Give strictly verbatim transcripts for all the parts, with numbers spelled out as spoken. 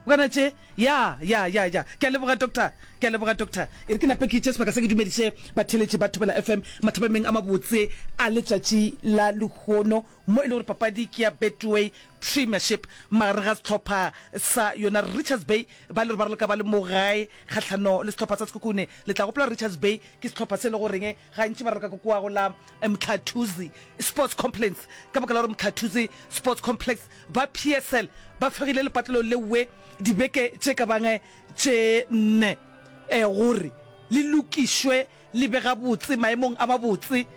Bokana tše, ya, ya, ya, ya. Ke a leboga, Doctor. Ke a leboga, Doctor. E re ke nape ke tšee sebaka se ke dumediše batheeletši ba Thobela F M mathapameng a mabotse a letšatši la lehono, mo e le gore papadi ke ya Betway Premiership magareng ga sehlopha sa yona Richards Bay ba le gore ba raloka ba le mo gae kgahlano le sehlopha sa Sekhukhune. Le tla gopola gore Richards Bay ke sehlopha se e le goreng gantši ba raloka ka kua go la Mhlathuze Sports Complex ka baka la gore Mhlathuze Sports Complex ba P S L ba fegile lepatlelo lewe dibeke tše ka bang tše nne gore le lokišwe le be gabotse maemong a mabotse.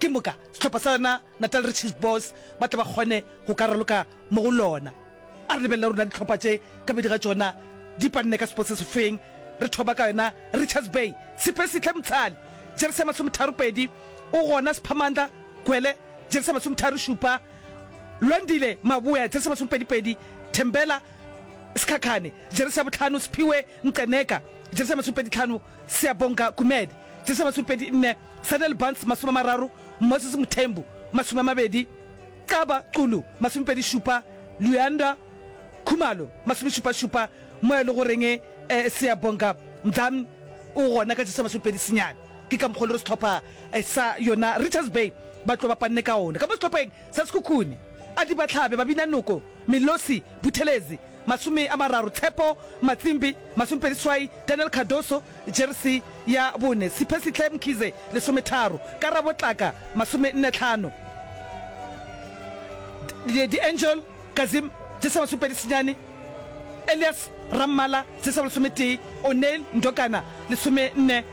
Ke moka sehlopha sa yona Natal Riches Boys ba tle ba kgone go ka raloka mo go lona. A re lebelele rona dihlopha tše ka bedi ga tšona di panne ka sepotse sefeng. Re thoma ka yona Richards Bay. Siphesihle Mtshali, jeresi ya masometharo pedi, o gona Siphamandla Gwele, jeresi ya masometharo šupa, Lwandile Maboya, jeresi ya masomepedi pedi, Thembela Sikhakhane, jeresi ya bohlano, Siphiwe Nqeneka, jeresi ya masomepedi hlano, Siyabonga Gumede, jeresi ya masomepedi nne, Sanel Barnes, masome a mararo, Moses Mthembu, masome a mabedi, Xaba Xulu, masomepedi šupa, Luyanda Khumalo, masomešupa šupa, mo e le goreng Siyabonga Mdlami o gona ka jeresi ya masomepedi senyane. Ke ka mokgwa o le gore sehlopha sa yona Richards Bay ba tlo ba panne ka ona. Ka mo sehlopheng sa Sekhukhune, Adi Batlhabe, Babina Noko, Milosi Buthelezi, masome a mararo, Tshepo Matsimbi, masomepedi seswai, Daniel Cardoso, jeresi ya bone, Siphesihle Mkhize, lesometharo, Karabo Tlaka, masomenne hlano, D'Angel Kazim, jeresi ya masomepedi senyane, Elias Rammala, jeresi ya bolesometee, O'Neil Ndokana, lesomenne,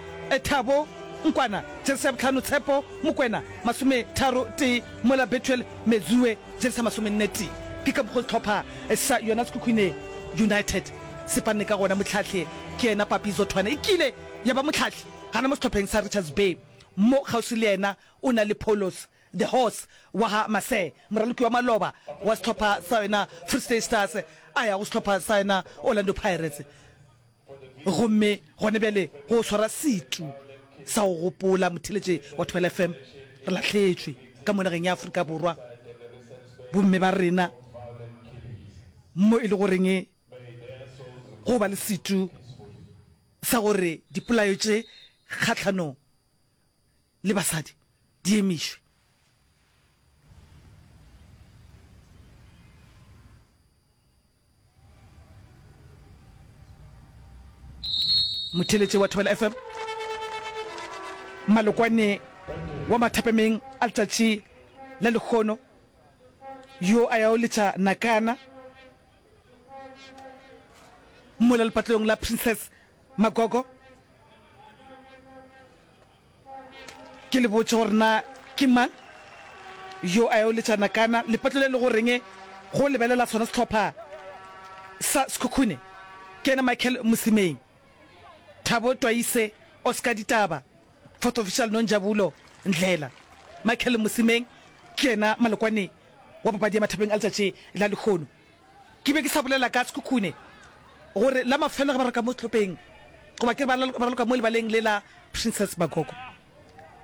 Thabo Nkwana, jeresi ya bohlano, Tshepo Mokwena, masometharo tee, mola Bethuel Mezue, jeresi ya masomenne tee. Ke ka mokgo sehlopha sa yona Sekhukhune United se panne ka gona. Mohlahli ke yena Papi Zothwane, e kile ya ba mohlahli gana mo sehlopheng sa Richards Bay. Mo kgauswi le yena o na le Paulos The Horse wa ga Masee, moraloki wa maloba wa sehlopha sa yona Free State Stars a ya go sehlopha sa yona Orlando Pirates. Gomme gona bjale go swara setu sa go gopola motheeletši wa Thobela F M, re lahletšwe ka mo nageng ya Afrika Borwa bomme ba rena mo e le goreng go ba le setu sa gore dipolayo tše kgahlanong le basadi di emišwe. Motheeletši wa Thobela F M, Malokwane wa mathapemeng a letšatši la lehono yo a yago letša nakana mola lepatlelong la Princess Magogo. Ke le botše gore na ke mang yo a yo letša nakana lepatlo le le go reng go lebelela sona sehlopha sa Sekhukhune. Ke yena Michael Mosimeng, Thabo Twaise, Oscar Ditaba, Fourth Official Nonjabulo Ndlela. Michael Mosimeng ke yena malokwane wa papadi ya mathapeng a letšatši la lehono. Ke be ke sa bolela ka Sekhukhune gore la mafelo ge ba raloka mo sehlopheng goba ke re ba raloka mo lebaleng le la Princess Magogo.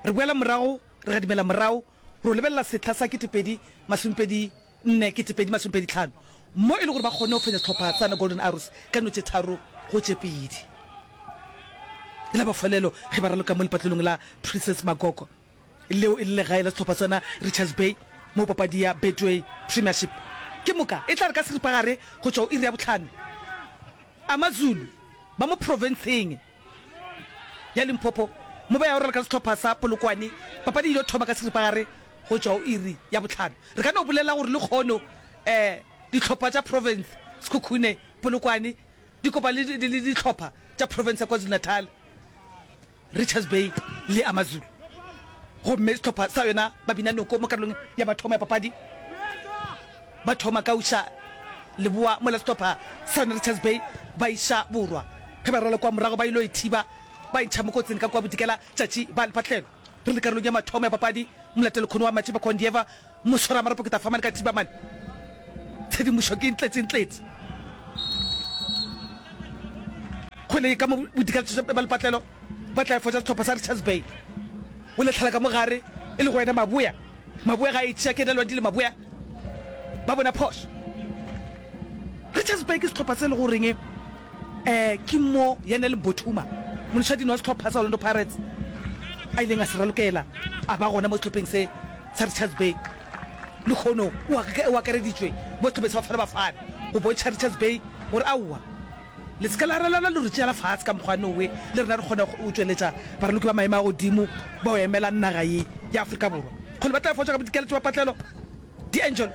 Re boela morago, re gadimela morago ro lebelela sehla sa ketepedi masomepedi nne ketepedi masomepedi hlano mo e le gore ba kgonne go fenya sehlopha sa Golden Arrows ka no tše tharo go tše pedi. La mafelelo ge ba raloka mo lepatlelong la Princess Magogo. Leo e le legae la sehlopha sona Richards Bay mo papadi ya Betway Premiership. Ke moka e tla re ka seripagare go tšwa go iri ya bohlano, AmaZulu ba mo profenseng ya Limpopo mo ba yago raloka le sehlopha sa Polokwane. Papadi e ile thoma ka seripagare go tšwa go iri ya bohlano. Re ka no bolela gore lekgono dihlopha tša profense Sekhukhune, Polokwane di kopane le dihlopha tša profense ya KwaZulu-Natal. Richards Bay le AmaZulu gomme sehlopha sa yona ba bina noko mo karolong ya mathomo ya papadi. Ba thoma ka uša leboa mola sehlopha sa yona Richards Bay ba iša borwa. Ge ba rwala kua morago ba ilo e thiba ba e ntšha mo kotsing ka kua bodikela tšatši ba lepatlelo. Re le karolong ya mathomo ya papadi, molatelo kgono wa Matšipa Kondieva Moswaramarapo ke tla famane ka thiba mane. Tshedimošo ke ntletše-ntletše. Kgwele e ka mo bodikaletšo ba lepatlelo ba tla e fotša sehlopha sa Richards Bay. O letlhala ka mo gare e le go yena Maboya. Maboya ga a e tšea ke yena Lwandile Maboya. Ba bona phošo. Richards Bay ke sehlopha se e le goreng um ke mo Yanel Mbothuma, monešadino wa sehlopha sa Orlando Pirates, a ileng a se ralokela a ba gona mo sehlopheng se sa Richards Bay. Lehono o akareditšwe mo sehlopheng sa Bafana Bafana go bontšha Richards Bay gore aowa, le se ke la ralala le re tšeela fase ka mokgwa nowe, le rena re kgona go tšweletša baraloki ba maemo a godimo bao emelang naga ye ya Afrika Borwa. Kgole ba tla fotša ka bodikeletšo ba patlelo. D'Angelo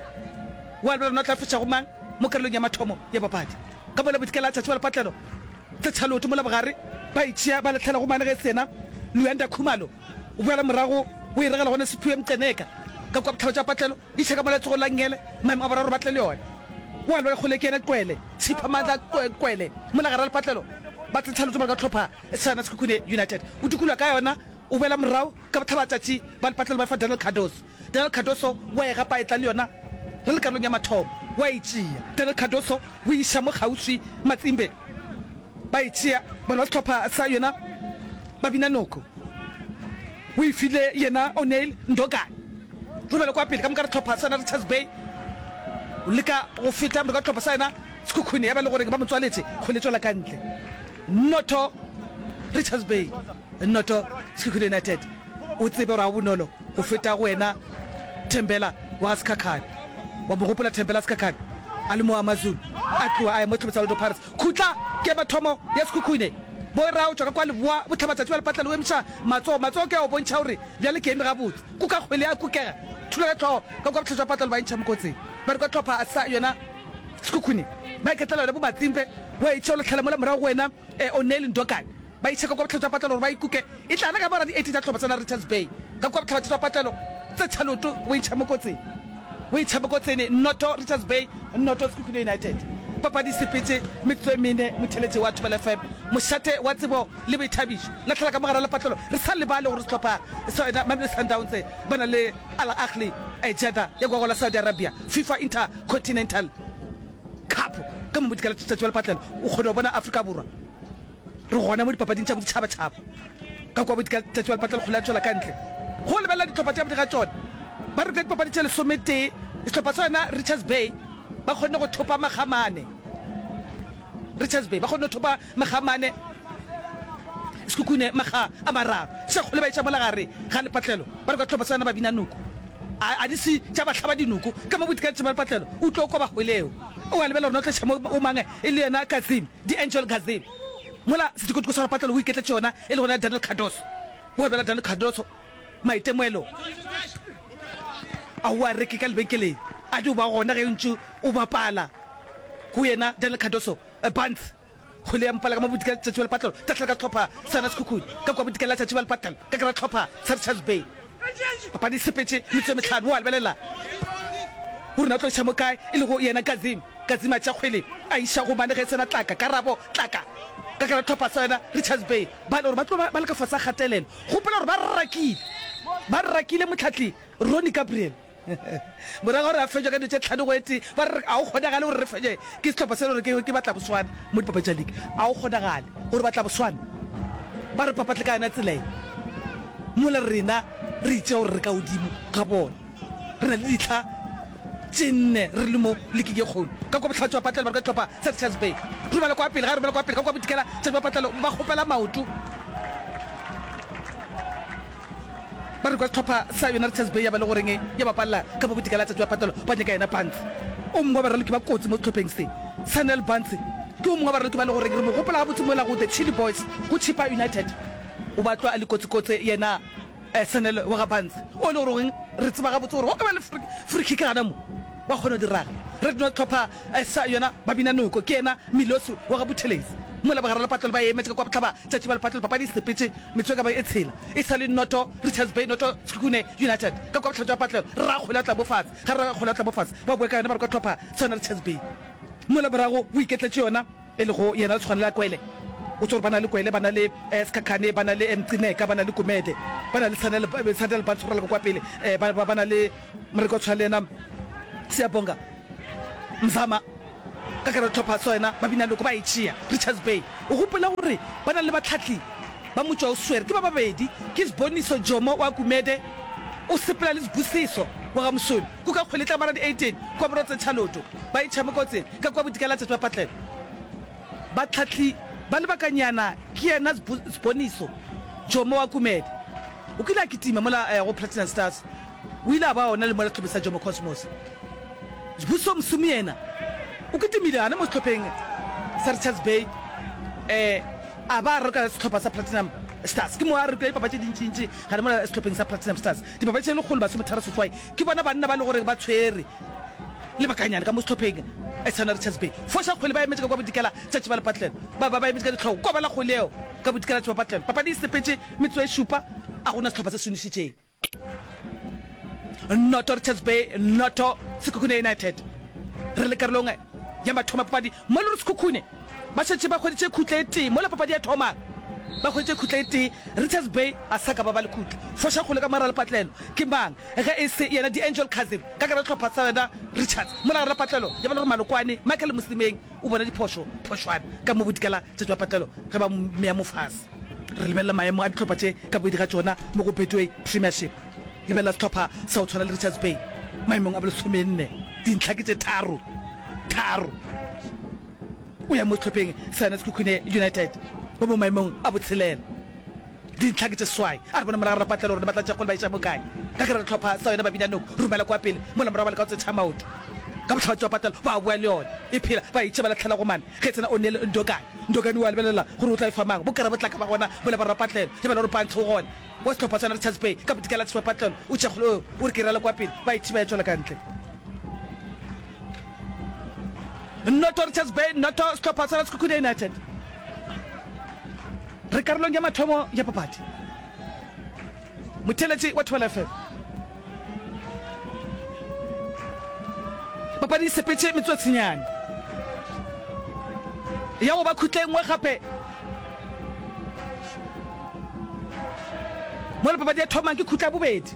wa lebelela rena o tla fetša go mang mo karolong ya mathomo ya papadi. Ka mola bodikela a tšatši ba lepatlelo tse tšha leoto mola bogare ba e tšea ba lahlela go mane ge e se yena Luyanda Khumalo o boela morago o e regela gona Siphiwe Mqeneka ka kua bohlaba tša patlelo iša ka mola letsogong la nngele maemo a boraro ba tle le yona o a lwela kgole ke yena Qwele Siphamandla Qwele mola gare ga lepatlelo ba tse tšha leoto mola ka hlopha sa Sekhukhune United o dukulwa ka yona o boela morago ka bohlaba tšatši ba lepatlelo ba fa Daniel Cardoso Daniel Cardoso wa e gapa a etla le yona re le karolong ya mathomo wa e tšea. Daniel Cardoso o iša mo kgauswi Matsimbe ba e tšea bona ba sehlopha sa yona ba bina noko o e file yena O'Neil Ndokane romela kwa pele ka moka re hlopha sa yona Richards Bay o leka go feta moka hlopha sa yona Sekhukhune ya ba le gore ba mo tswaletše kgwele tšwela ka ntle noto Richards Bay noto Sekhukhune United. O tsebe gore ga go bonolo go feta go wena Thembela wa ga Sikhakhane. Wa mo gopola Thembela Sikhakhane a le mo Amazulu, a tloga a ya mo sehlopha sa Orlando Pirates. Khutla ke mathomo ya Sekhukhune. Bo ra o tšwa ka kwa leboa bohlabatšatši bja lepatlelo o emiša matsogo. Matsogo ke a go bontšha gore bjale ke eme gabotse. Kuka kgwele ya kukega. Thula ka hlogo ka kwa bohlatšwa bja patlelo ba e ntšha mokotseng. Ba re kwa hlopha sa yona Sekhukhune ba iketlela yona bo Matsimpe wa e tšea o lahlela mola morago go wena O'Neil Ndokane. Ba itšheka kua bohlaba tša patlelo gore ba ikuke. E tla re ka mora di-eighty tša hlopha sa Richards Bay ka kua bohlaba tša patlelo tse tšha leoto o intšha mo kotsing. O intšha mo kotsini noto Richards Bay noto Sekhukhune United. Papadi e sepetše metsotso e mene motheeletši wa Thobela F M. Mošate wa tsebo le boithabišo. Lahlela ka mo gare ga lepatlelo. Re sa lebale gore sehlopha sa yona Mamelodi Sundowns ba na le Al Ahly Jeddah ya kua go la Saudi Arabia FIFA Intercontinental Cup ka mo bodikela tšatši wa lepatlelo o kgone go bona Afrika Borwa. Re gona mo dipapading tša boditšhabatšhaba. Ka kua bodikela tšatši wa lepatlelo kgole ya tšwela ka ntle go lebelela dihlopha tša ga tšona. Ba re ka dipapadi tše lesometee, sehlopha sa yona Richards Bay ba kgonne go thopa makga a mane. Richards Bay ba kgonne go thopa makga a mane, Sekhukhune makga a mararo. Tša kgole ba iša mola gare ga lepatlelo. Ba re ka sehlopha sa yona ba bina noko. A, a di se tša ba hlaba dinoko. Ka mo bodikela tšatši wa lepatlelo o tlo kwa ba hweleo. O a lebelela gore na o tla iša mo o mang e le yena Kazim. D'Angelo Gazelle, mola setokotoko sa lepatlelo o iketletše yona e le gona Daniel Cardoso. O abela Daniel Cardoso maitemogelo a o a reke ka lebenkeleng a dio ba gona ge o ntše o bapala go yena Daniel Cardoso Barnes kgwele ya mpala ka mo bodikela tšatši ba lepatlelo tahlela ka hlopha sa yona Sekhukhune ka kua bodikela tšatši ba lepatlelo ka kera hlopha sa Richards Bay. Papadi e sepetše metsotso e mehlano o a lebelela gore na o tlo iša mo kae e lego yena Kazim. Kazim a tšea kgwele a iša go Mane ge e se na tlaka. Karabo, Tlaka. Ka kera hlopha sa yona Richards Bay ba le gore ba tlo ba ba le ka fase ga kgatelelo. Gopola gore ba rakile ba rakile mohlahli Ronnie Gabriel. Morago ga gore a fetšwe ka dilo tše tlhano go e tee, ba re ga go kgonagale gore re fenye ke sehlopha se le gore ke Batlaboswana mo dipapadi tša league. Ga go kgonagale gore Batlaboswana ba re papatle ka yona tsela ye mola rena re itšea gore re ka godimo ga bona. Re na le ditlha tše nne re le mo leaking ye kgolo. Ka kua bohlatse ba patlelo ba re ka sehlopha sa Richards Bay. Romela kwa pele, ga romela kwa pele ka kua bodikela tša ba patlelo ba kgopela maoto. Ba re kwa sehlopha sa yona Richards Bay ya ba le goreng ya bapalela ka mo bodikela tšatši ba patlelo ba nyaka yena Bantsi. O mongwe wa baraloki ba kotsi mo sehlopheng se, Sanel Bantsi, ke o mongwe wa baraloki ba le goreng re mo gopola gabotse mola go The Chilli Boys go Chippa United. O batlwa a le kotsikotse yena Sanel wa ga Bantsi o le goreng re tseba gabotse gore go ka ba le free kick gana mo wa kgona go di raga. Re no hlopha sa yona ba bina noko ke yena Milosi wa ga Buthelezi. Mola bogare lepatlelo ba emetše ka kua bohlaba tšatši ba lepatlelo papadi e sepetše metsotso e ka ba e tshela e sa le noto Richards Bay noto Sekhukhune United ka kua bohlaba tša patlelo Rrakgwele a tla mo fatshe ga Rrakgwele a tla mo fatshe ba boe ka yona ba re kwa hlopha sa yona Richards Bay mola morago o iketletše yona e lego yena Tshwanela Kwele. O tsebe gore ba na le Kwele, ba na le Sikhakhane, ba na le Mcineka, ba na le Gumede, ba na le Sanel, Sanel Bantsi go raloka kwa pele, ba, ba, ba na le moreki wa tshwana le yena Siyabonga Mzama ka kare tlhopha sa yena ba bina loko ba e tšea Richards Bay. O gopola gore ba na le batlhahli ba motšwa o swere ke ba babedi ke Siboniso Jomo wa Gumede o sepela le Sibusiso wa ga Mosome. Kuka kgwele e tla mara di eighteen kua Morotse Tšhaloto ba itšha mo kotseng ka kua bodikela tšatši ba patlelo. Batlhahli ba lebakanyana ke yena Sboniso Jomo wa Kumede. O kile a kitima mola go Platinum Stars, o ile a ba ona le mola sehlopheng sa Jomo Cosmos. Sbuso Msomi yena o kitimile gana mo sehlopheng sa Richards Bay a ba a raloka sehlopha sa Platinum Stars. Ke mo a ralokile dipapadi tše dintšintši gana mola sehlopheng sa Platinum Stars. Dipapadi tše lekgolo masometharo seswai ke bona banna ba le gore ba tshwere lebakanyana ka mo sehlopheng sa yona Richards Bay. Foša kgwele ba emetše ka kwa bodikela tšatši ba lepatlelo. Ba ba ba emetše ka dihlogo kwa ba la kgwele yeo ka bodikela tši ba patlelo. Papadi e sepetše metsotso e šupa a gona sehlopha se se nwešitšeng. Noto Richards Bay, noto Sekhukhune United. Re le karolong ya mathomo a papadi mo le gore Sekhukhune ba šetše ba hweditše khutla e tee mola papadi ya thomang ba hweditše khutla e tee. Richards Bay a sa ka ba ba le khutla. Foša kgole ka mogare ga lepatlelo ke mang ge e se yena D'Angel Cousin ka gare ga sehlopha sa yona Richards mola gare ga lepatlelo ya ba le gore Malokwane Michael Mosimeng o bona diphošo phošwana ka mo bodikela tšatši ba patlelo ge ba mmea mo fase. Re lebelela maemo a dihlopha tše ka bobedi ga tšona mo go Betway Premiership. Lebelela sehlopha sa go tshwana le Richards Bay maemong a bolesomenne, dintlha ke tše tharo, tharo. O ya mo sehlopheng sa yona Sekhukhune United ba mo maemong a botshelela, dintlha ke tše seswai. A re bone morago Rapatlelo gore ne ba tla tšea kgole ba iša mo kae. Ka gare ga sehlopha sa yona Babinanoko, romela kwa pele mola morago ba leka go tsetšha maoto. Ka bohlaba tšwa patlelo ba boa le yona e phela, ba e tšea ba lahlela go mane. Ge tsena O'Neill Ndokane, Ndokane o a lebelela gore o tla e fa mang. Bokara bo tla ka ba gona mola ba Rapatlelo ge ba le gore Pantsho o gona. Wa sehlopha sa Richards Bay ka bodikela tšwa patlelo o tšea kgole o o re ke rala kwa pele ba e thiba ya tšwela ka ntle. Noto Richards Bay, noto sehlopha sa Sekhukhune United. Re karolong ya mathomo ya papadi. Motheeletši wa Thobela F M. Papadi e sepetše metsotsenyane ya go ba khutla e nngwe gape. Mola papadi ya thomang ke khutla ya bobedi.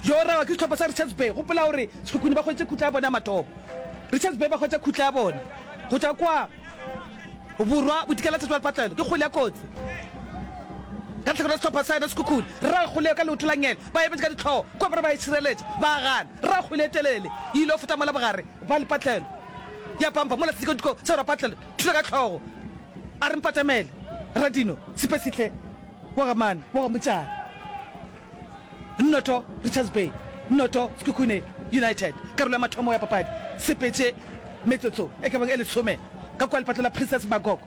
Yo rawa ke sehlopha sa Richards Bay. Gopola gore Sekhukhune ba hweditše khutla ya bona ya mathomo. Richards Bay ba hwetša khutla ya bona go tšwa kwa Borwa bodikela tšatši ba lepatlelo. Ke kgwele ya kotsi ka lehlakore la sehlopha sa yona Sekhukhune. Rra kgwele ka leoto la ngele. Ba emetše ka dihlogo kua ba re ba e šireletša. Ba gana. Rra kgwele e telele e ile go feta mola bogare ba lepatlelo. Ya pampa mola sedikadiko sa rapatlelo thula ka hlogo. A re mpatamele Radino Sipesihle wa ga Mane wa ga Motšane. Noto Richards Bay, noto Sekhukhune United. Karolo ya mathomo ya papadi sepetše metsotso e ka bang e lesome ka kua lepatlo la Princess Magogo.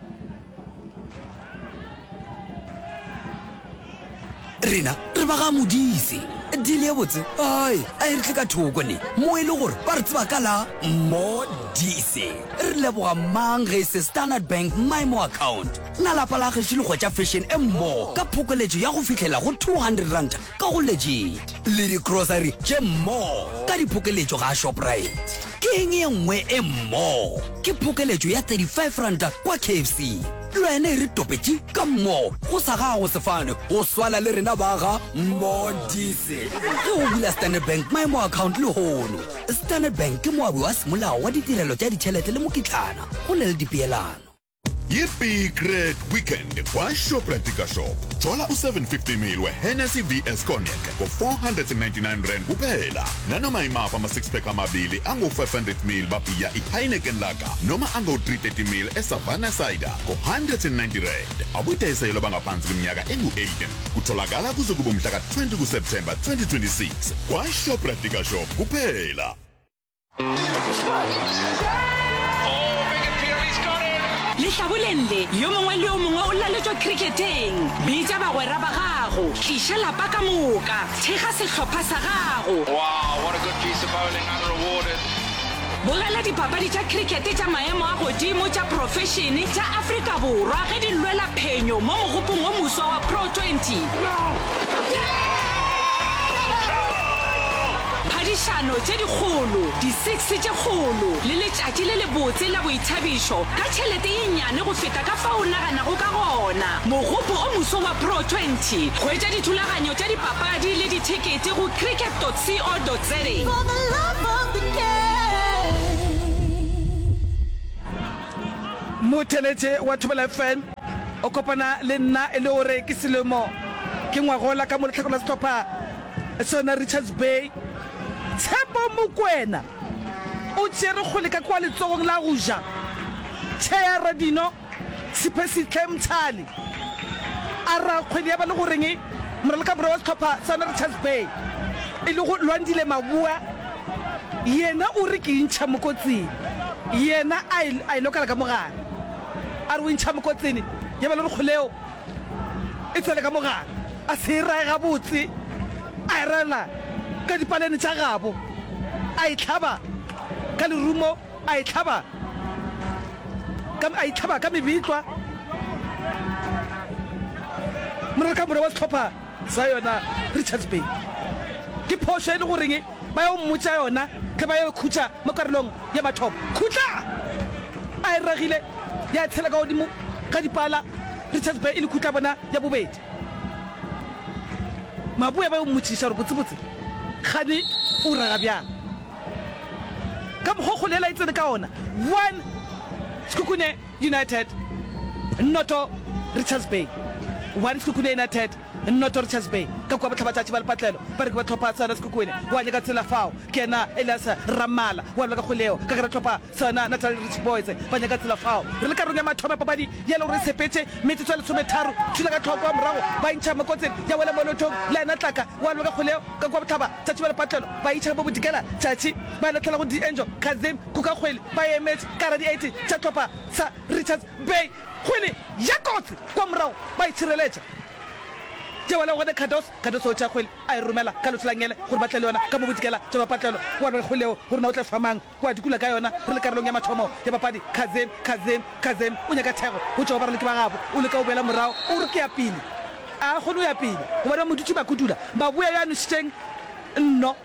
Rena re ba ga Modise. Deal ye botse ai a e re tle ka thoko ne mo e le gore ba re tseba ka la Modise. Re leboga mang ge e se Standard Bank MyMo Account. Na lapa la gešo le hwetša fashion e mmo ka phokoletšo ya go fihlela go two hundred rand ka go Legit le di-grocery tše mmo ka diphokeletšo ga Shoprite? Ke eng ye nngwe e mmo? Ke phokeletšo ya thirty five ranta kwa K F C. Le wena e re topetše ka mmo go sa gago sefane go swana le rena ba ga Modise ge o bula Standard Bank MyMo Account lehono. Standard Bank ke moabi wa semolao wa ditirelo tša ditšhelete le mokitlana go na le dipeelano. Ye Big Red Weekend kwa Shoprite Liquor Shop. Thola u seven fifty ml we Hennessy V S Cognac ngo four hundred and ninety nine rand kuphela. Nanoma imaphi ama six pack amabili angu five hundred ml babhiya i Heineken Lager noma angu three thirty ml e Savanna Cider ngo hundred and ninety rand. Akudayiselwa abangaphansi kweminyaka engu eighteen. Kutholakala kuze kube umhla ka twenty ku September twenty twenty six kwa Shoprite Liquor Shop kuphela. Lehlaboleng le, yo mongwe le yo mongwe o laletšwa khrikheteng. Bitša bagwera ba gago, tliša lapa ka moka, thekga sehlopha sa gago. Bogela dipapadi tša khrikete tša maemo a godimo tša profešene tša Afrika Borwa ge di lwela phenyo mo mogopong o moswa wa Pro twenty. Phadišano tše dikgolo, di-six tše kgolo le letšatši le lebotse la boithabišo ka tšhelete ye nnyane go feta ka fao o naganago ka gona. Mogopo o moso wa Pro twenty. Hwetša dithulaganyo tša dipapadi le dithekete go cricket dot co dot za. Motheeletše wa Thobela F M o kopana le nna e le gore ke selemo ke ngwagola ka mo lehlakore la sehlopha sona Richards Bay. Tshepo Mokwena o tšere kgwele ka kwa letsogong la go ja. Tšhea Radino Siphesihle Mtshali a ra kgwele ya ba le goreng moralokaborwa wa sehlopha sa Richards Bay e lego Lwandile Maboa yena o re ke intšha mo kotsing. Yena a e, a e lokela ka mogare. A re o intšha mo kotsing ya ba le gore kgwele yeo e tswele ka mogare. A se e rae gabotse, a e raela ka dipalene tša gabo, a e hlaba ka lerumo, a e hlaba ka, a e hlaba ka mebitlwa. Moralokamora wa sehlopha sa yona Richards Bay. Ke phošo e le goreng ba yo mmotša yona ge ba yo khutša mo karolong ya mathomo. Khutla! A e ragile ya tshela ka godimo ga dipala, Richards Bay e le khutla bona ya bobedi. Maboya ba yo mmotšiša gore botsebotse kgane o raga bjang. Ka mokgwa o kgole yela e tsene ka ona, one Sekhukhune United, noto Richards Bay, one Sekhukhune United, Noto Richards Bay, ka kua bohlabatšatši ba lepatlelo, ba re ke ba hlopha sa yona Sekhukhune, wa nyaka tsela fao, ke yena Elias Rammala, wa lwa ka kgwele yeo, ka gare hlopha sa yona Natal Rich Boys, ba nyaka tsela fao. Re le karolong ya mathomo ya papadi ye le gore e sepetše metsotso ya lesometharo, thula ka tlhoko morago ba intšha mo kotsing ya wela mo leotong la yena Tlaka, wa lwa ka kgwele yeo, ka kua bohlaba tšatši ba lepatlelo, ba itšha mo bodikela tšatši, ba lahlela go D'Angelo Kazim, kuka kgwele, ba e emetše ka gare di-eighty tša hlopha sa Richards Bay, kgwele ya kotsi kua morago ba itšhireletša. Tšewa le gone Cardoso, Cardoso o tšea kgwele a e romela ka leoto la ngele gore ba tle le yona ka mo bodikela tša mapatlelo. Wa re kgwele yeo gore na o tla fa mang, wa dikula ka yona. Re le karolong ya mathomo ya papadi, Kazem, Kazem, Kazem o nyaka thekgo go tšwa go baraloki ba gabo. O leka go boela morago, o re ke ya pele. A kgone go ya pele gobane ba mo dutše ba kudula. Maboya yo a nwešitšeng nno.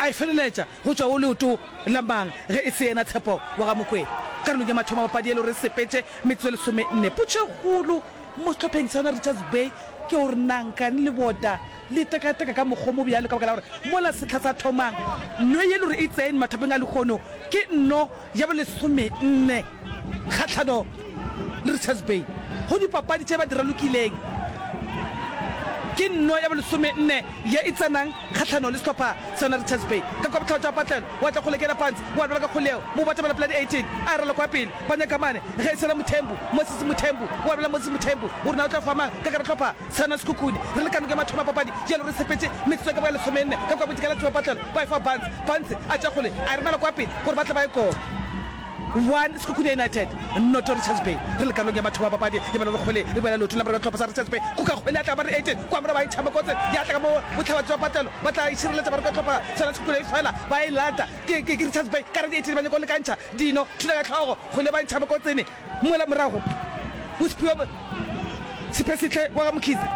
A e feleletša go tšwa go leoto la mang ge e se yena Tshepo wa ga Mokwena? Karolong ya mathomo a papadi e le gore e sepetše metsotso e lesomenne. Potšo e kgolo mo sehlopheng sa yona Richards Bay ke gore na nkane lebota le tekateka ka mokgwa o mo bjalo ka baka la gore mola sehla sa thomang nno ye e le gore e tsene mathapeng a lehono ke nno ya bolesomenne kgahlano le Richards Bay go dipapadi tše ba di ralokileng ke nno ya bolesomenne ye e tsenang kgahlano le sehlopha sa yona Richards Bay. Ka kwa bohlaba tša patlelo wa tla kgole kena pansi wa lwela ka kgoleo mo batamela pela di eighteen a rala kwa pele ba nyaka mane ge e sela Mothembu Moses Mothembu wa lwela Moses Mothembu o re na o tla fa mang ka gare hlopha sa yona Sekhukhune re le ka noka ya mathomo a papadi jalo re sepetše metsotso e ka ba ya lesomenne ka kwa bodikela tšwa patlelo ba e fa Barnes Barnes a tša kgole a e romela kwa pele gore ba tle ba e kobe. One Sekhukhune United noto Richards Bay. Re le karolong ya mathomo a papadi e bala kgwele e boela leotong la morero hlopha sa Richards Bay. Kuka kgwele ya tla ba re eighteen kwa morago ba e tšhaba kotse ya tla ka mo bohlaba tšwa patlelo ba tla e šireletša ba re ka hlopha sona Sekhukhune e fela ba e lata ke ke Richards Bay ka re di eighteen ba nyaka go lekantšha dino thula ka hlogo kgwele ba e tšhaba kotsene mola morago o Siphiwe Siphesihle wa ga Mkhize.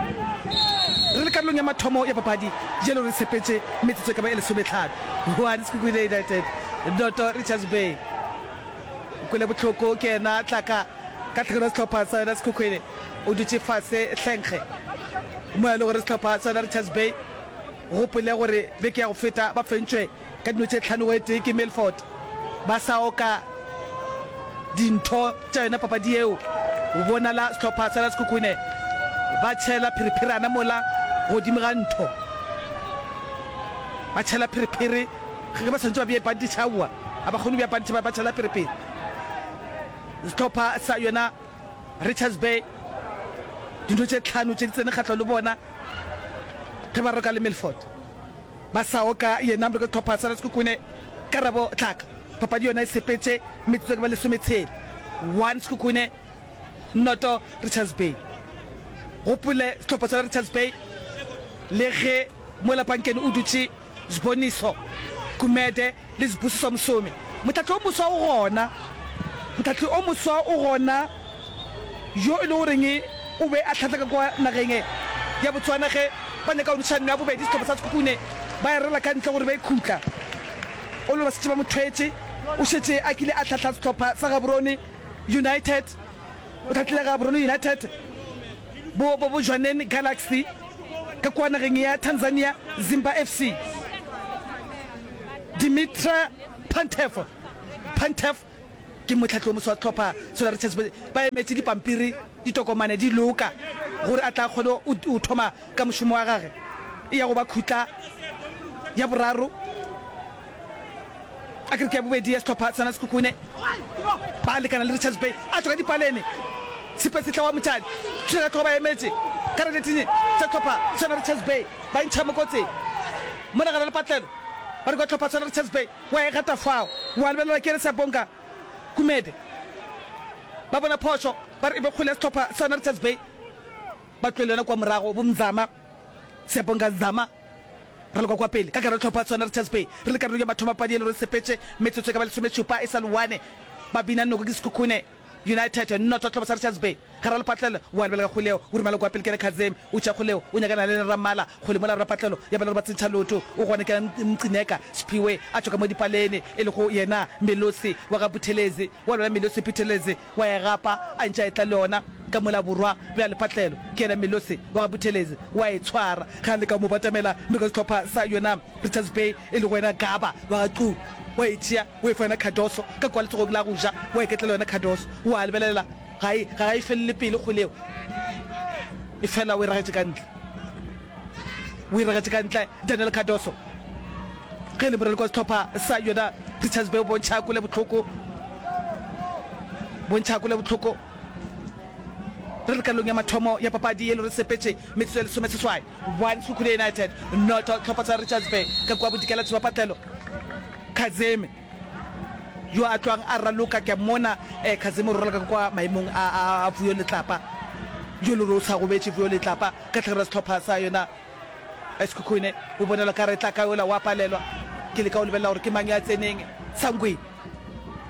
Re le karolong ya mathomo ya papadi jalo re sepetše metsotso e ka ba e lesometlhano. One Sekhukhune United noto Richards Bay. Kwele bohloko ke yena Tlaka ka tlhakano ya sehlopha sa yona Sekhukhune o dutše fase hlenkge mo e le gore sehlopha sa yona Richards Bay gopole gore beke ya go feta ba fentšwe ka dino tše tlhano go e tee ke Milford ba sa oka dintho tša yona papadi yeo. Go bonala sehlopha sa Sekhukhune ba tšhela phirphirana mola godimo ga ntho. Ba tšhela phirphiri ge ba swanetše ba bee pantitšhe, aowa, ga ba kgone go bea pantitšhe, ba tšhela phirphiri. Sehlopha sa yona Richards Bay dintho tše tlhano tše di tsene kgahlano le bona ge ba roka le Milford. Ba sa oka yena mreke hlopha sa Sekhukhune Karabo Tlaka. Papadi yona e sepetše metsotso e ka ba lesometshela. One Sekhukhune noto Richards Bay. Gopole sehlopha sa Richards Bay le ge mola pankeng o dutše Sboniso Gumede le Sbusiso Msomi. Mohlahli o moswa o gona. Mohlahli o moswa o gona yo e le goreng o be a hlahla ka kwa nageng ya Botswana ge ba nyaka go noša nno ya bobedi sehlopha sa Sekhukhune ba e rela ka ntle gore ba e khutla. O le ba šetše ba mo thwetše. O šetše a kile a hlahla sehlopha sa Gaborone United. O hlahlile Gaborone United, bo, bo, bo Jwaneng Galaxy ka kua nageng ya Tanzania, Zimba F C. Dimitre Pantev, Pantev ke mohlahli o moswa wa sehlopha sela Richards Bay. Ba emetše dipampiri, ditokomane di loka gore a tla kgone go thoma ka mošomo wa gage. E ya go ba khutla ya boraro a ke re ke ya bobedi ya sehlopha sa Sekhukhune ba lekana le Richards Bay a tšwa ka dipalene Sepesetla wa Motšane thula ka hlogo ba emetše ka reneteng tša hlopha sona Richards Bay ba ntšha mo kotsing mola gare lepatlelo ba re kwa hlopha sona Richards Bay wa e gata fao wa lebelela ke re Sabonga Gumede ba bona phošo ba re e be kgole ya sehlopha sona Richards Bay ba tloele yona kwa morago bo Mzama Sabonga Zama re le kwa kwa pele ka gare hlopha sona Richards Bay re le karolo ya mathomo padi e le re sepetše metsotso e ka ba lesomešupa e sa le one ba bina noko ke Sekhukhune United noto hlopha sa Richards Bay gare lepatlelo wa lebelela kgoleo o romela kwa pele ke re Kazemi o tša kgoleo o nyakana le Ramala kgole mola rapatlelo ya bela re ba tsentšha loto o gone ke Mcineka Sphiwe a tšwa ka mo dipalene e le go yena Melosi wa ga Buthelezi wa lwela Melosi Buthelezi wa e gapa a ntše a etla le yona ka mola borwa bja lepatlelo ke yena Melosi wa ga Buthelezi wa e tshwara ge a leka go mo batamela mme ka sehlopha sa yona Richards Bay e le go yena Gaba wa ga Xulu wa e tšea o e fa yona Cardoso ka kwa letsogong la go ja wa e ketlela yona Cardoso wa lebelela ga e ga e felele pele kgwele eo e fela o e ragetše ka ntle o e ragetše ka ntle Daniel Cardoso ge e le moraloki wa sehlopha sa yona Richards Bay o bontšha kole bohloko bontšha kole bohloko re le karolong ya mathomo ya papadi ye le re sepetše metsotso ya lesomeseswai one Sekhukhune United noto hlopha sa Richards Bay ka kua bodikela tshebapatlelo Kazemi yo a tlwang a raloka ke mona eh, Kazemi o raloka ka kwa maemong a, a, a Vuyo Letlapa yo le re o sa gobetše Vuyo Letlapa ka tlhagelo ya sehlopha sa yona Sekhukhune o bonela ka re tla ka yola wa palelwa ke leka go lebelela gore ke mang ya tseneng Sangweni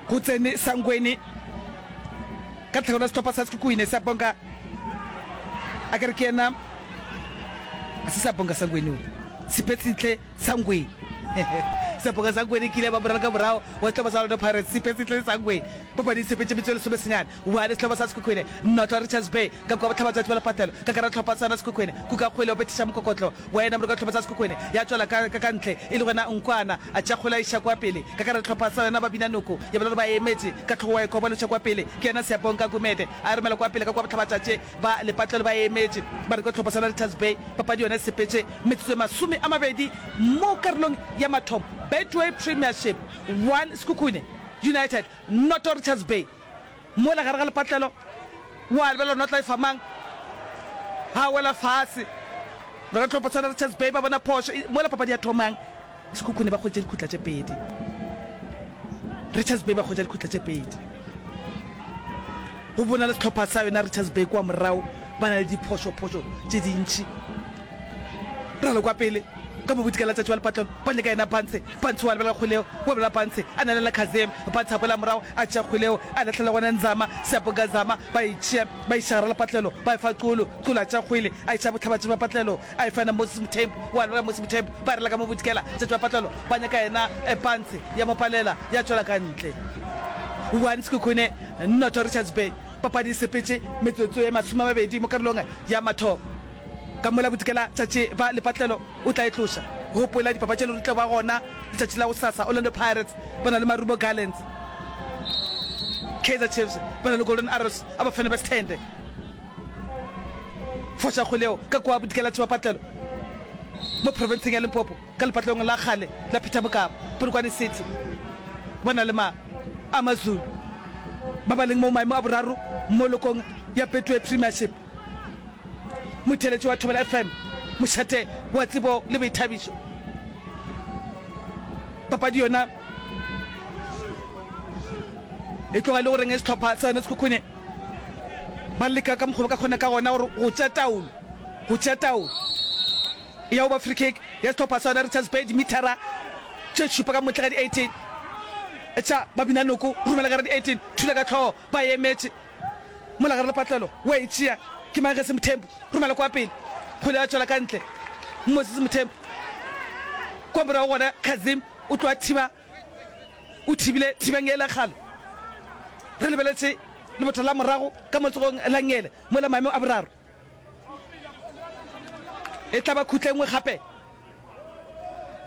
go tsene Sangweni ka tlhagelo ya sehlopha sa Sekhukhune sa bonka a ke re ke yena a se sa bonka Sangweni o Sepetsitle Sangweni Sepoka Sangweni kile ba moraloka morago wa sehlopha sa Orlando Pirates Sepetsitle Sangweni papadi e sepetše metsotso e lesomesenyane one sehlopha sa Sekhukhune noto Richards Bay ka kua bohlabatšatši ba lepatlelo ka gare hlopha sa Sekhukhune kuka kgwele o bethiša mokokotlo wa yena moroka hlopha sa Sekhukhune ya tšwela ka ka ntle e le gona Nkwana a tšea kgwele a iša kwa pele ka gare hlopha sa yona ba bina noko ya bona gore ba emetše ka tlhogo wa e koba loša kwa pele ke yena Siyabonga Gumede a romela kwa pele ka kua bohlabatšatši ba lepatlelo ba emetše ba re kwa hlopha sa Richards Bay papadi yona e sepetše metsotso e masome a mabedi mo karolong ya mathomo Betway Premiership one Sekhukhune United noto Richards Bay mola gare ga lepatlelo wa lebelela notla e fa mang ha wela fase ba ka tlhopha tshwana Richards Bay ba bona phošo mola papadi ya thomang Sekhukhune ba kgwetše dikhutla tše pedi Richards Bay ba kgwetša dikhutla tše pedi go bona le sehlopha sa yona Richards Bay kwa morago ba na le diphošophošo tše dintši ralo kwa pele ka mobodikela letšatši wa lepatlelo ba nyaka yena Pantshe Pantshe wa lebelela kgweleo wa belela Pantshe a nalela Kazem Pantshe a boela morago a tšea kgweleo a lahlela gona Nzama Seapoka Zama ba e tšea ba iša gare lepatlelo ba e fa Xulu Xulu a tšea kgwele a iša bohlabatši ba patlelo a e fa yena Moses Mthembu wa lebelela Moses Mthembu ba rela ka mobodikela letšatši wa patlelo ba nyaka yena Pantshe ya mo palela ya tšwela ka ntle one Sekhukhune noto Richards Bay papadi e sepetše metsotso ye masome a mabedi mo karolong ya mathomo ka mola bodikela tšatši ba lepatlelo o tla e tloša gopola dipapadi tše le tla ba gona letšatši la gosasa Orlando Pirates ba na le Marumo Gallants Kaizer Chiefs ba na le Golden Arrows a bafana ba Sthende foša kgwele ka kwa bodikela tša patlelo mo provinceng ya Limpopo ka lepatlelong la kgale la Peter Mokaba Polokwane City ba na le ma Amazulu ba ba leng mo maemo a boraro mo lokong ya Betway Premiership motheletši wa Thobela F M mošate wa tsebo le boithabišo papadi yona e tloga e le goreng sehlopha sa yona Sekhukhune ba leka ka mokgwa ba ka kgona ka gona gore go tšea taolo go tšea taolo ya go ba free kick ya sehlopha sa yona Richards Bay dimithara tše šupa ka motle ga di eighteen tša babina noko romela ka re di eighteen thula ka tlhogo ba emetše mola gare lepatlelo wa e tšea ke mang ge se Mthembu romela kwa pele kgwele ya tšwela ka ntle Moses Mthembu kwa morago gona Kazim o tloa thiba o thibile thibang ele kgale re lebeletše lebotho la morago ka motsogong la ngele mola maemo a boraro e tla ba khutla engwe gape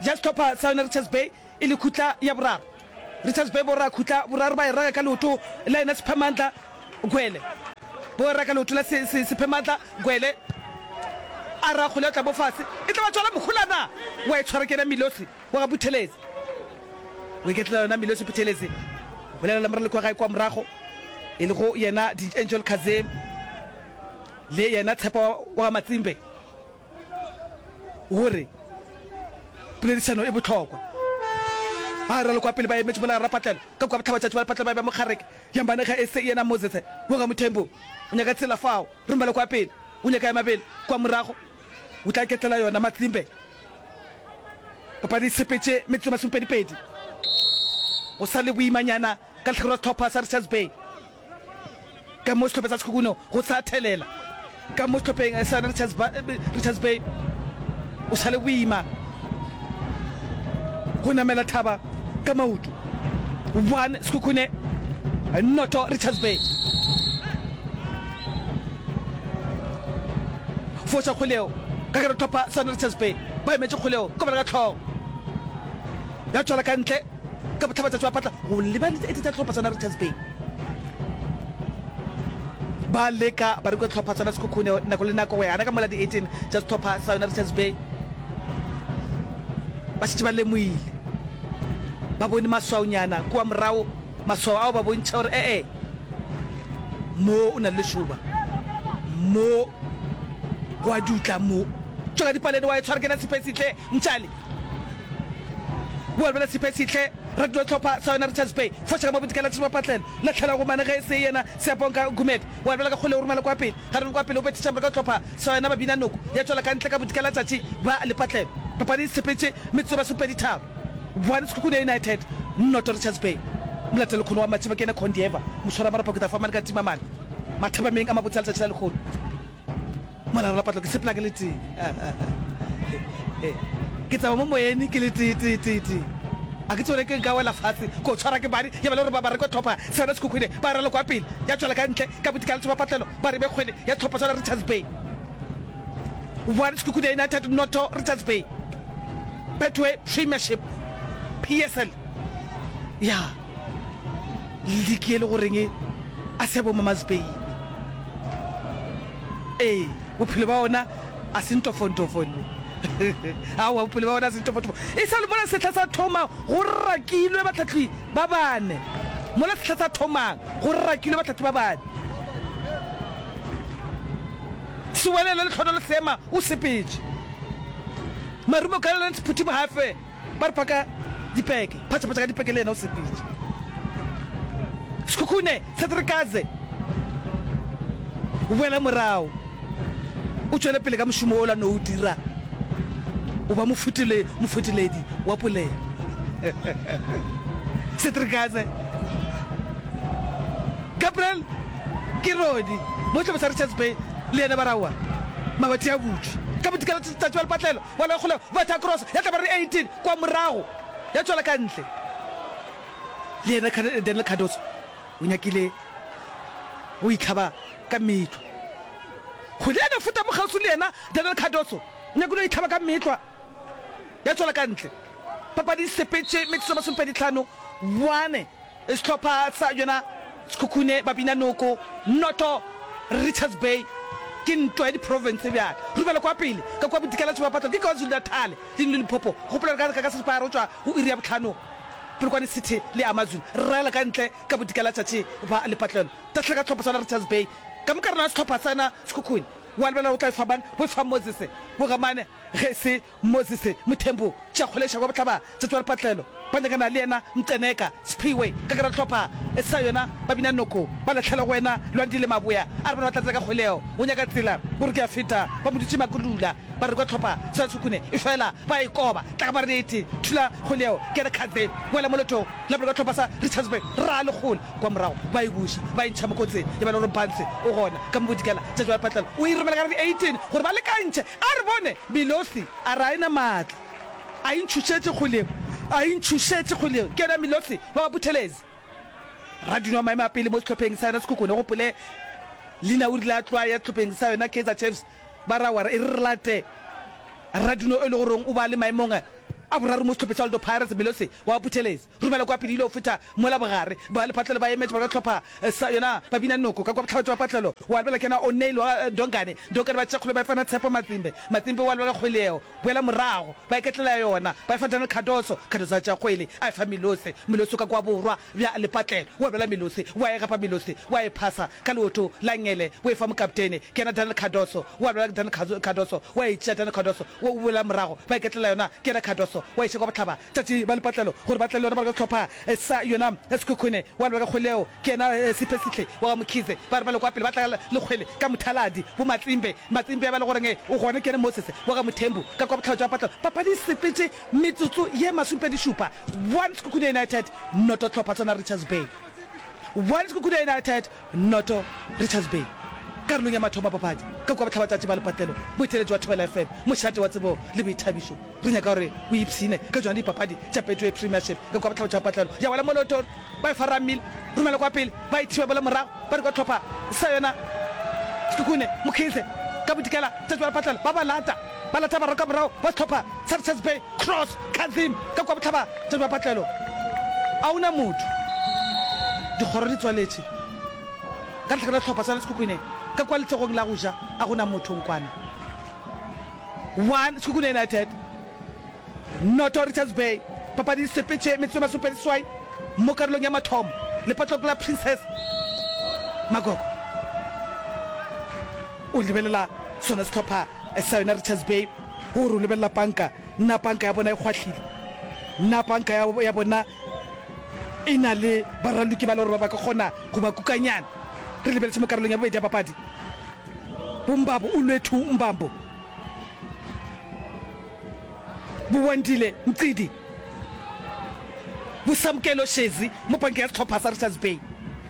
ja sehlopha sa yona Richards Bay e le khutla ya boraro Richards Bay borra khutla boraro ba e raga ka leoto la yena Sephamandla Gwele bo raka leoto la Sephamandla Gwele A ra kgole ya tla mo fase, e tla ba tswala moholana wa e tshwara ke yena Milosi wa ga Buthelezi. O iketlela yona Milosi Buthelezi, o bolela le moraloki wa gae kwa morago e lego yena D'Angel Kazem le yena Tshepo wa ga Matsimbe gore poledišano e bohlokwa. Ba raloka pele ba emetše mola Rapatlelo ka kua bohlabatšatši ba Lepatlelo ba eba mokgareke ya Mbanega e se yena Moses wa ga Mothembu o nyaka tsela fao romela kwa pele o nyaka ya mabele kwa morago o tla iketlela yona Matsimbe. Papadi e sepetše metsotso e masomepedipedi go sa le boimanyana ka lehlakore la sehlopha sa Richards Bay. Ka mo sehlopheng sa Sekhukhune go sa thelela ka mo sehlopheng sa Richards, Richards Bay o sa le boima go namela thaba ka maoto. One Sekhukhune noto Richards Bay. Foša kgoleo ka gare tlhopha sa Richards Bay ba emetše kgoleo ka bola ka tlhogo ya tšwela ka ntle ka bohlabatšatši ba patla go lebane e tša tlhopha sa Richards Bay. Ba leka ba reka tlhopha sa Sekhukhune nako le nako go ya gana ka mola di eighteen tša sehlopha sa yona Richards Bay ba šetše ba lemoile ba bone maswaonyana kua morago. Maswao ao ba bontšha gore ee, mo o na le lešoba, mo go a dutla, mo tšwa ka dipalene wa e tshwara ke na Siphesihle Mtšali. Wa lebela Siphesihle radio tlhopha sa yona Richards Bay foša ka mo bodikela tšhaba patlelo lahlela go mane ge e se yena Siyabonga Gumede wa lebela ka kgole o romela kwa pele ga reng kwa pele o bethiša morago tlhopha sa yona Babina Noko ya tšwela ka ntle ka bodikela tšatši ba lepatlelo papadi e sepetše metsotso e masomepedi tharo. One Sekhukhune United noto Richards Bay. Molatelo lekgono wa Matšheba ke yena Condieva, moswaramarapo ke tla fa mane ka Timamane. Mathapameng a mabotse a letšatši la lekgono. Mola Rapatlo ke sepela ke le tee. Ke tsama mo moyeng ke le tee tee tee tee. A ke tsebe gore ke nka wela fatshe ko tshwara ke bane ya ba le gore ba ba re ko tlhopha sona Sekhukhune ba raloka pele ya tšwela ka ntle ka bodikela letšhoba patlelo ba re be kgwele ya tlhopha sona Richards Bay. One Sekhukhune United noto Richards Bay. Betway Premiership, P S L, ya liki e le goreng a se ya bo Mama's Baby. Ee, bophelo ba ona a se ntofontofo nne. Aowa, bophelo ba ona a se ntofontofo. E sa le mola sehla sa thoma go rakilwe bahlahli ba bane. Mola sehla sa thomang go rakilwe bahlahli ba bane. Sewelele Lehlonolo Seema o sepetše. Marumo Gallants Phuthi Mohafe ba re phaka dipeke, phatšaphatša ka dipeke le yena o sepetše. Sekhukhune Cedric Kaze o boela morago, o tšwele pele ka mošomo wola no o dira, o ba mofetole, mofetoledi wa polelo. Cedric Kaze. Gabriel ke Rodi mo sehlopha sa Richards Bay le yena ba re aowa mabati a butšwe ka bodikela tšatši ba lepatlelo wa la kgolego betha cross ya tla ba re eighteen kwa morago ya tšwela ka ntle le yena Daniel Cardoso o nyakile go itlhaba ka metlwa kgwele ya no feta mo kgauswi le yena Daniel Cardoso o nyakile go itlhaba ka metlwa ya tšwela ka ntle papadi e sepetše metsotso e masomepedi tlhano one Sehlopha sa yona Sekhukhune, Babinanoko, Noto, Richards Bay ke ntwa ya diprofense bjale. Rubela kwa pele ka kua bodikela Tšhobapatlo ke KwaZulu-Natal le Limpopo. Gopola gore ka ka seripagare go tšwa go iri ya bohlano Polokwane City le Amazulu re raela ka ntle ka bodikela tšatši ba lepatlelo. Tahlela ka sehlopha sa yona Richards Bay ka moka rena sehlopha sa yona Sekhukhune. Wa lebelela o tla e fa mang? Bo e fa Moses Bogamane ge e se Moses Mthembu, tša kgoleša kwa bohlaba tša tšwa lepatlelo, ba nyakana le yena Mceneka, Sphiwe, ka gare hlopha sa yona ba bina noko, ba lahlela go wena Lwandile Maboya, a re bona ba tla tsena ka kgweleo, o nyaka tsela, o re ke a feta, ba mo dutše makulula, ba re kwa hlopha sa Tshukune, efela ba e koba, tla ka marete, thula kgweleo, ke yena Khaze, wela molotong, la boloka hlopha sa Richards Bay, ra lekgolo, kwa morago, ba e buša, ba e ntšha mo kotsing, ya ba le gore Mpanse o gona, ka mo bodikela, tša tšwa lepatlelo, o e romela ka gare di eighteen, gore ba lekantšhe, A re bone, Milosi a re a e na maatla, a e ntšhošetše kgolego, a e ntšhošetše kgolego. Ke yena Milosi wa ga Buthelezi, radino wa maemo a pele mo sehlopheng sa yona Sekhukhune. Gopole, leina o rile a tloa ya sehlopheng sa yona Kaizer Chiefs, ba ra wa re e re re late radino e le goreng o ba le maemong A boraro mo sehlopheng sa Orlando Pirates, Melose wa Buthelezi romela kwa pele ile go feta mola bogare. Ba lepatlelo ba emetše ba ka hlopha sa yona ba bina noko ka kwa bohlabatša ba patlelo. Wa lebela ke yena O'Neil wa Ndongane. Ndongane ba tšea kgwele ba e fana Tshepo Matsimbe. Matsimbe wa lebela kgwele yeo. Boela morago ba iketlela yona ba e fa Daniel Cardoso. Cardoso a tšea kgwele a e fa Melose. Melose ka kwa borwa bja lepatlelo. Wa lebela Melose wa e gapa Melose wa e phasa ka leoto la ngele o e fa mokaptene ke yena Daniel Cardoso. Wa lebela Daniel Cardoso wa e tšea Daniel Cardoso o boela morago ba iketlela yona ke yena Cardoso wa iša kwa bohlaba tšatši ba lepatlelo gore ba tle le yona ba re ka sehlopha sa yona Sekhukhune wa leba ka kgwele yeo ke yena Siphesihle wa ga Mkhize ba re ba le kwa pele ba tla le kgwele ka mothaladi bo Matsimbe Matsimbe ya ba le goreng o gona ke yena Moses wa ga Mothembu ka kwa bohlaba tša patlelo papadi e sepetše metsotso ye masomepedi šupa one Sekhukhune United noto hlopha tsona Richards Bay one Sekhukhune United noto Richards Bay karolong ya mathomo a papadi ka kua bohlabatšatši ba lepatlelo boeteletši wa Thobela F M mošate wa tsebo le boithabišo Re nyaka gore o ipshine ka tšona dipapadi tša Betway Premiership ka kua bohlaba tša patlelo ya wela Moloto ba e fa Ramile romela kwa pele ba e thiba bola morago ba re kwa hlopha sa yona Sekhukhune Mokhize ka bodikela tša tšwa patlelo ba ba lata ba lata bararo ka morago ba sehlopha sa Richards Bay Cross Kazim ka kua bohlaba tša tšwa patlelo a ona motho dikgoro di tswaletše ka lehlakore la sehlopha sa Sekhukhune ka kua letsogong la go ja a gona motho nkwana One Sekhukhune United noto Richards Bay. Papadi e sepetše metsotso e masomepedi seswai mo karolong ya mathomo lepatlong la Princess Magogo. O lebelela sona sehlopha sa yona Richards Bay gore o lebelela panka, na panka ya bona e kgwahlile, na panka ya, ya bona e na le baraloki ba le gore ba ba ka kgona go ba kukanyana. Re lebeletše mo karolong ya bobedi ya papadi. Bombabo Olwethu Mbambo, Bowandile Mqidi, Bosamkelo Shezi mo pankeng ya sehlopha sa Richards Bay.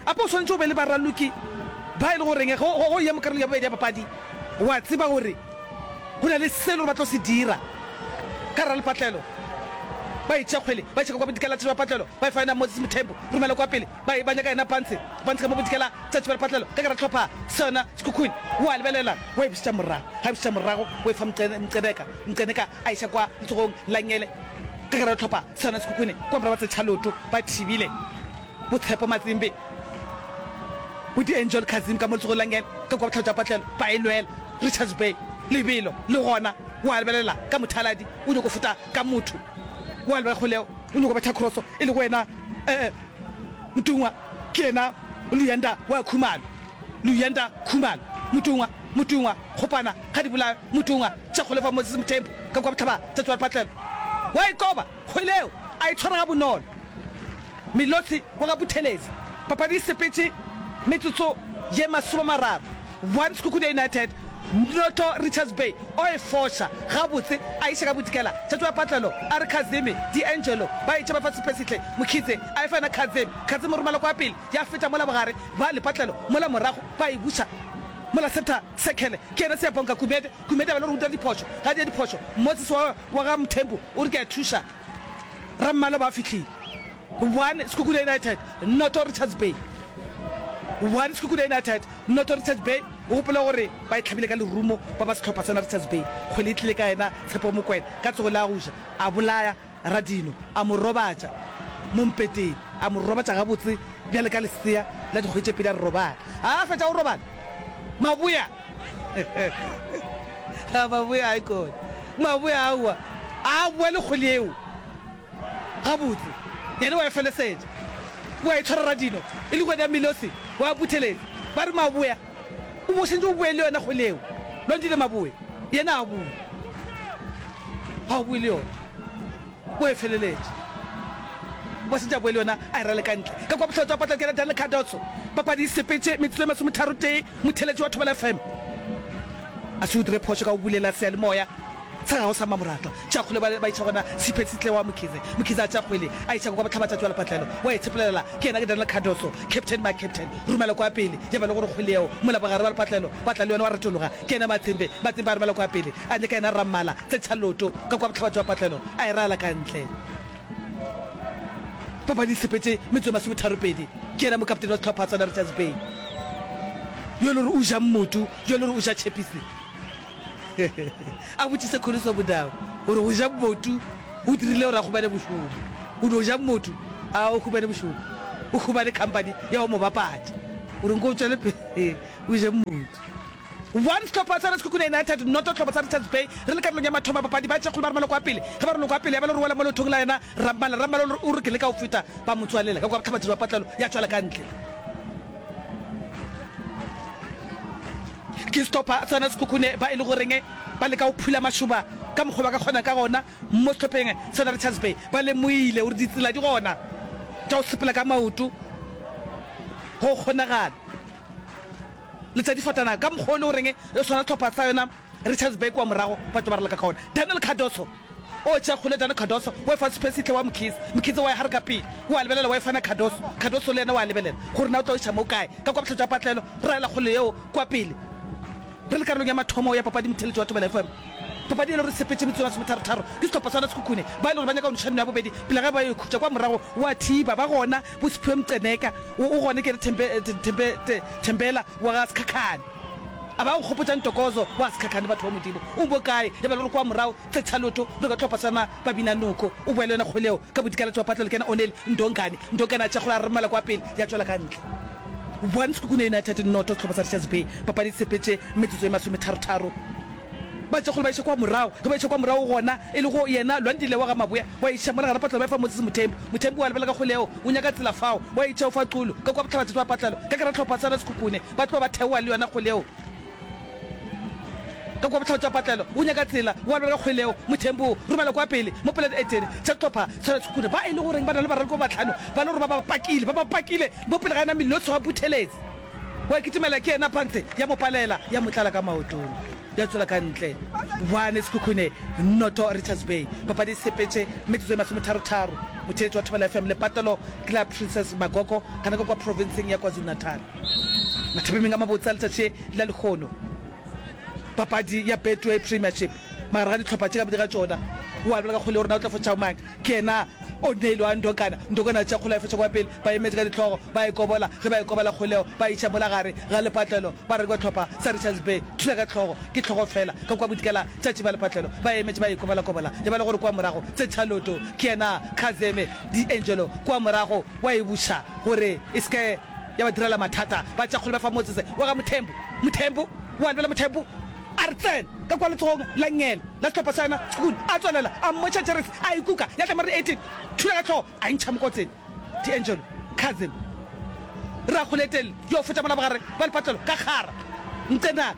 Ape o swanetše o be le baraloki ba e le goreng ge o eya mo karolong ya bobedi ya papadi wa tseba gore go na le se e le gore ba tlo se dira ka ralepatlelo. Ba e tšea kgwele ba e tšheka kwa bodikela tša patlelo ba e fa yena Moses Mthembu romela kwa pele Ba e ba nyaka yena Pantshe, Pantshe ka mo bodikela tšatši ba lepatlelo ka gara hlopha sona Sekhukhune. O a lebelela, wa e bušetša morago. Ga e bušetša morago, o e fa Mqeneka, Mqeneka a iša kwa letsogong la ngele ka gara hlopha sona Sekhukhune. Kwa morago ba tsetšha leoto ba thibile bo Tshepo Matsimbi, bo D'Angel Kazim ka mo letsogong la ngele ka kwa bohlaba tša patlelo ba e lwela. Richards Bay lebelo le gona o a lebelela ka mothaladi o nyoko feta ka motho o a lebelela kgoleo o nyoko betha crosso e lego wena eh, Motungwa ke yena Luyanda wa Khumalo. Luyanda Khumalo. Motungwa, Motungwa, Kgopana, ga di bolawe, Motungwa, tša kgole fa Moses Mthembu, ka kwa bohlaba tša tšwa lepatlelo. Wa e koba, kgwele eo, a e tshwara gabonolo. Melotsi wa ga Buthelezi. Papadi e sepetše metsotso ye masomemararo. One Sekhukhune United noto Richards Bay o e foša gabotse a iša ka bodikela. Tšatši wa patlelo a re Kazemi, D'Angelo ba etša ba fa Siphesihle Mokhize a e fa yena Kazemi. Kazemi o romela kwa pele ya feta mola bogare ba lepatlelo mola morago ba e buša mola center circle ke yena Siyabonga Gumede. Gumede a ba le gore o dira diphošo ga a dira diphošo Moses wa wa ga Mthembu o re ke a thuša Rammalo ba fihlile. One Sekhukhune United noto Richards Bay. One Sekhukhune United noto Richards Bay. O gopole gore ba e hlabile ka lerumo ba ba sehlopha sona Richards Bay. Kgwele e tlile ka yena Tshepo Mokwena ka tsogo la go ja a bolaya Radino a mo robatša mo mpeteng a mo robatša gabotse bjale ka lesea la dikgwedi tše pedi a re robala. A fetša go robala Maboya Maboya a ikone Maboya aowa a boa le kgwele yeo. Gabotse, yena o a e felesetša. O a e tshwara Radino, e le kgwedi ya Milosi, wa Buthelezi. Ba re, Maboya, o bo sentše o boe le yona kgwele yeo. Lwandile Maboya, yena a boe. Ga o boe le yona. O e feleletše. O sentše a boe le yona, a e rale ka ntle. Ka kwa bohlotsa wa patla ke yena Daniel Cardoso. Papadi e sepetše metsotso e masometharo-tee, motheeletši wa Thobela F M. A se o dire phošo ka go bulela seyalemoya sa gago sa mmamoratwa. Tša kgole ba ba iša gona Siphe Sitle wa Mkhize. Mkhize a tša kgwele a iša kwa bohlabatšatši wa lepatlelo. Wa e tshepelela ke yena ke Daniel Cardoso. Captain my captain. Romela kwa pele ya ba le gore kgwele yeo mola bogare ba lepatlelo ba tla le yona wa retologa ke yena Matsembe. Matsembe a romela kwa pele a nyaka yena Rammala tse tšha loto ka kwa bohlabatši wa patlelo a e raela ka ntle. Papadi e sepetše metsotso e masometharopedi. Ke yena mokaptene wa sehlopha sa Richards Bay yo e le gore o ja mmotu, yo e le gore o ja tšhepisi. A botšise Kholiso Modau gore go ja mmotu O dirile gore a humane mošomo. O no ja motho a o humane mošomo. O humane company ya go mo bapatša. O re nko o tšwele pele o je motho. One sehlopha sa Sekhukhune United, noto sehlopha sa Richards Bay. Re le karolong ya mathomo a papadi, ba tšea kgolo ba romela kwa pele. Ge ba romela kwa pele, ya ba le gore wela mo leotong la yena Rammala. Rammala o re ke leka go feta, ba mo tswalela ka kwa bohlabatšatši ba patlelo ya tšwela ka ntle. Ke sehlopha sa Sekhukhune ba e le goreng ba leka go phula mašoba ka mokgwa ba ka kgona ka gona mo sehlopheng sa Richards Bay. Ba lemoile gore ditsela di gona tša go sepela ka maoto go kgonagala. Letšatši fatana ka mokgwa o le goreng e swana sehlopha sa yona Richards Bay kua morago ba tlo ba raloka ka ona. Daniel Cardoso o tšea kgole Daniel Cardoso o efa Siphesihle wa Mkhize, Mkhize wa ya gare ka pele o a lebelela wa e fana Cardoso, Cardoso le yena wa lebelela gore na o tlo iša mo kae ka kua bohlatša patlelo raela kgole yeo kua pele. Re le karolong ya mathomo ya papadi Motheeletši wa Thobela F M. Papadi e le gore e sepetše metsotso e masometharo-tharo ke sehlopha sa Sekhukhune ba e le gore ba nyaka go noša nno ya bobedi pele ga ba yo ikhutša kwa morago wa thiba ba gona bo Siphiwe Mceneka o o gone ke Thembe Thembe Thembela wa ga Sekhakhane a ba go gopotša Ntokozo wa Sekhakhane batho ba Modimo o mo kae ya ba le gore kwa morago Tsetshalotho re ka hlopha sana ba bina noko o boela yona kgwele yeo ka bodikalatši wa patlelo ke yena Oneli Ndongane Ndongane a tšea kgole a romela kwa pele ya tšwela ka ntle One Sekhukhune United noto sehlopha sa Richards Bay papadi e sepetše metsotso e masometharo-tharo Ba tšea kgole ba iša kwa morago. Ge ba iša kwa morago gona, e lego yena Lwandile wa ga Maboya, wa iša mola gare patlelo ba efa Moses Mothembu. Mothembu wa lebela ka kgole yeo, o nyaka tsela fao, wa itša o fa Xulu, ka kwa bohlabatšatši ba patlelo, ka gare hlopha sa Sekhukhune, ba tloga ba theoga le yona kgole yeo. Ka kwa bohlabatšatši ba patlelo, o nyaka tsela, wa lebela ka kgole yeo, Mothembu o romela kwa pele, mo pela dietene tša sehlopha sa Sekhukhune, ba e le goreng ba na le baraloki ba bahlano, ba le gore ba ba pakile, ba ba pakile mo pele ga yena Milotso wa Buthelezi. Wa kitimela ke yena pantse ya mo palela ya mo tlala ka maotong ya tswela ka ntle. One Sekhukhune noto Richards Bay. Papadi e sepetše metsotso e masometharo-tharo. Motheeletši wa Thobela F M Lepatelo ke la Princess Magogo gana ka kwa provinseng ya KwaZulu-Natal. Mathapemeng a mabotse a letšatši la lehono. Papadi ya Betway Premiership magare ga dihlopha tše ka bobedi ga tšona. O a lebala ka kgole gore na o tla fotša mang. Ke yena O'Neil wa Ndokana. Ndokana a tšea kgole a e fetša kwa pele. Ba emetše ka dihlogo, ba e kobola. Ge ba e kobela kgoleo, ba e iša mola gare ga lepatlelo. Ba re kwa hlopha sa Richards Bay, thula ka hlogo, ke hlogo fela. Ka kwa bodikela tšatši ba lepatlelo, ba emetše ba e kobolakobola. Ya ba le gore kwa morago tse tšhaloto. Ke yena Khazeme D'Angelo kwa morago wa e buša gore e se ke ya ba direla mathata. Ba tšea kgole ba fa Moses wa ga Mothembu. Mothembu wa lebela Mothembu a re tsena ka kwa letsogong la nngele la sehlopha sa yona Sekhukhune. A tswelela a mmotša jeresi a e kuka ya tla mare eighteen thula ka hlogo a e ntšha mokotseng. D'Angelo Cousin Rakgoletele yo feta mola bogare ba lepatlelo ka kgara Ncenaka.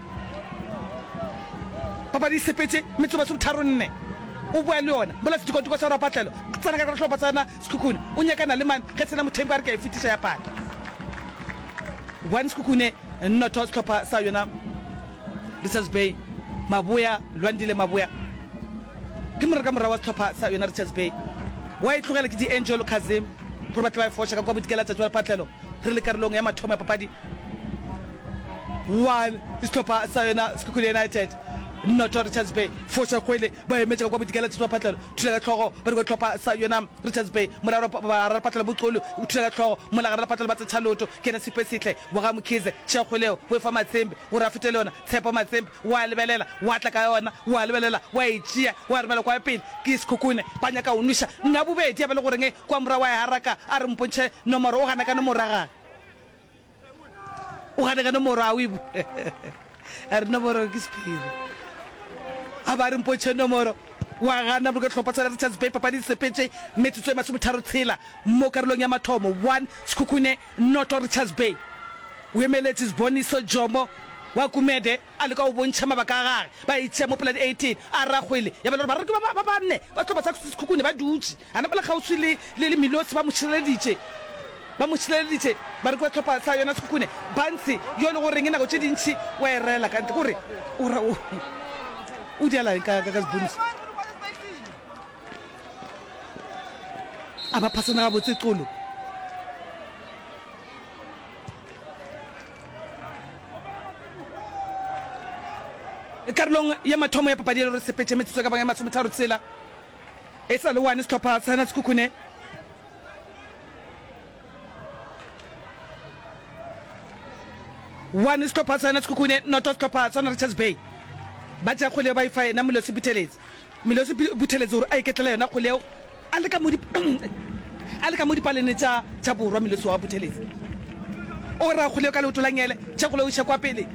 Papadi e sepetše metsotso masometharo nne o boa le yona mola sedikwadikwa sa rapatlelo tsena ka sehlopha sa yona Sekhukhune o nyakana le mang ge sena Mothembu a re ke a e fetiša ya pata. One Sekhukhune noto sehlopha sa yona Richards Bay Maboya Lwandile Maboya ke moreka morago wa sehlopha sa yona Richards Bay wa e tlogela ke D'Angelo Kazim gore ba tle ba e foša ka kwa bodikela tšatši wa lepatlelo re le karolong ya mathomo ya papadi one sehlopha sa yona Sekhukhune United noto Richards Bay foša kgwele ba emetše ka kwa bodikela tšatši wa lepatlelo thula ka hlogo ba di kwa hlopha sa yona Richards Bay mola gare lepatlelo Boxolo o thula ka hlogo mola gare lepatlelo ba tsetšha leoto ke yena Siphesihle wa ga Mkhize tšea kgwele yeo o e fa Matsembe gore a fete le yona Tshepo Matsembe wa lebelela wa tla ka yona wa lebelela wa e tšea wa romela kwa pele ke Sekhukhune ba nyaka go nweša nna bobedi ya ba le goreng kwa morago wa e haraka a re mpontšhe nomoro o gana ka nomoro ya gage o gane ka nomoro a o e a re nomoro ke sephiri a ba re mpontšhe nomoro wa gana boloka hlopha sa Richards Bay papadi e sepetše metsotso e masometharo tshela mo karolong ya mathomo one Sekhukhune noto Richards Bay o emeletše Siboniso Jomo wa Gumede a leka go bontšha mabaka a gage ba e tšea mo pela di eighteen a ra kgwele ya ba le gore baraloki ba ba banne ba sehlopha sa Sekhukhune ba dutše a na ba le kgauswi le le le Milosi ba mo šireleditše ba mo šireleditše ba re ke ba sehlopha sa yona Sekhukhune Bansi yo le goreng nako tše dintši wa e rela ka ntle kore o ra o o diala eng ka ka ka Siboniso a ba phasana gabotse Xulu. Karolong ya mathomo ya papadi ya re sepetše metsotso ka bang ya masometharo tshela e sa le one sehlopha sa Sekhukhune one sehlopha sa Sekhukhune noto sehlopha sa Richards Bay ba tšea kgwele ba e fa yena Molosi Buthelezi Milosi Buthelezi gore a iketlele yona kgwele yeo a le ka mo a le ka mo dipalene tša tša borwa. Milosi wa Buthelezi o ra kgwele yeo ka leoto la ngele, tša kgwele o iša kwa pele.